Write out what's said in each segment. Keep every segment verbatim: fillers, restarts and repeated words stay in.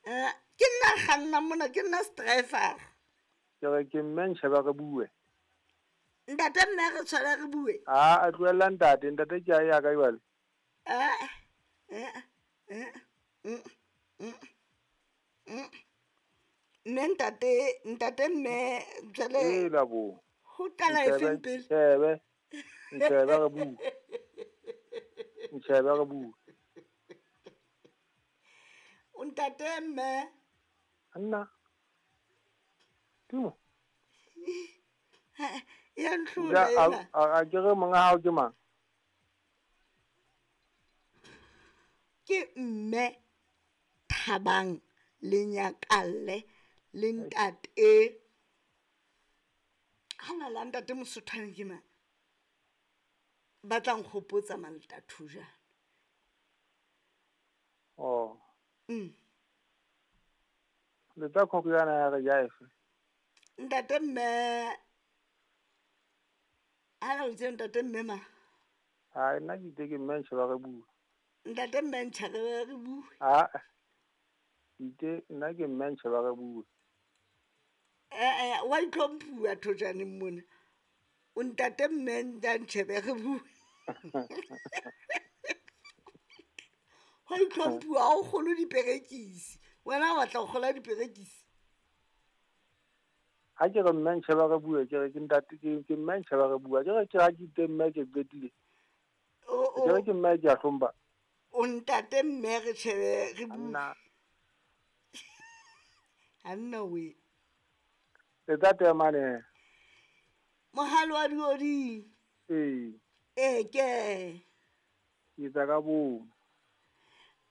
Eh, ke nna kganna mona, ke nna strifer. Ke re ke mme ntjhebe re bue. Ntate mme re tshwara re bue. A a tlohella ntate, ntate ke a ya ka jwale. Eh, eh, eh, mm, mm, mm. Mme ntate, ntate mme jwale E la bo. Ho qala e feng pele? Ntjhebe. Ntjhebe re bue. Ntjhebe re bue. O ntate mme. Nna. Timo. Ya ntlhola Ja, a ena. a a ke re monga hao ke mang? Ke mme Thabang le Nyakalle le ntate. Hana la ntate Mosothwane ke mang? Ba tla nkgopotsa Maltathu jana. Oh. Mm. Le tsa khoko yana ya re ja efe? Ntate mme Hana o itse ntate mme ma? Ha nna ke itse ke mme ntjhebe re bue. Ntate mme ntjhebe re bue. Ha. Itse nna ke mme ntjhebe re bue. Eh, eh, wa itlhomphuwa thojaneng mona. O ntate mme ntjhebe re bue. Wa itlhomphuwa ha o kgolwe diperekisi. Wena o batla ho kgola diperekisi. Ha ke re mme ntjhebe re bue, ke re ke ntate ke ke mme ntjhebe re bue. Ke re ke ha ke itse mme ke qetile. O, o. Ke re ke mme ke a hlompha. O ntate mme re tjhebe re bue. Nna. Anna we. Le tsa temane. Mohalo wa diodi. Ee. Eh ke. Ke tsa ka bomo.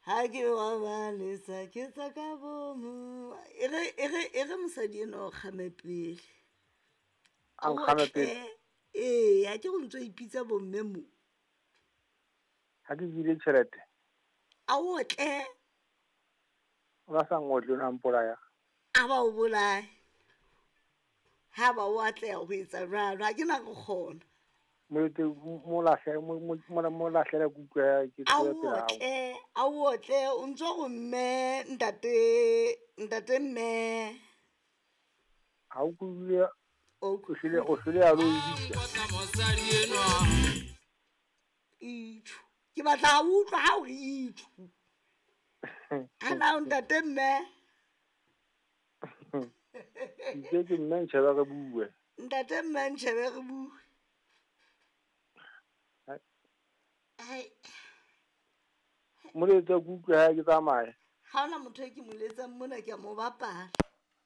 Ha ke wa balesa ke tsa ka bomo. E re e re e re mosadi eno o kgame pele. A nkgame pele. Ee, ha ke go ntso ipitsa bomme mo. Ha ke bile tjhelete. A o tle. O ba sa ngotle o na mpolaya. A ba o bolaye. Ha ba o atleha ho etsa jwalo, ha ke na go kgona. Molete mo lahle mo mo mo lahlele kutlwe ya ke A tsoe o pela hao. tle, a o tle, o ntso go mme ntate, ntate mme. Ha o kutlwe O o hlile o hlile ya lo bitsa. Itjhu. Ke batla ho utlwa ha o re itjhu. Ana o ntate mme. Ke ke mme ntjhebe re bue. Ntate mme ntjhebe re bue. Ai. Moletse kutlwe ha ke tsamaye. Ha hona motho e ke mo letsang mona ke a mo bapala.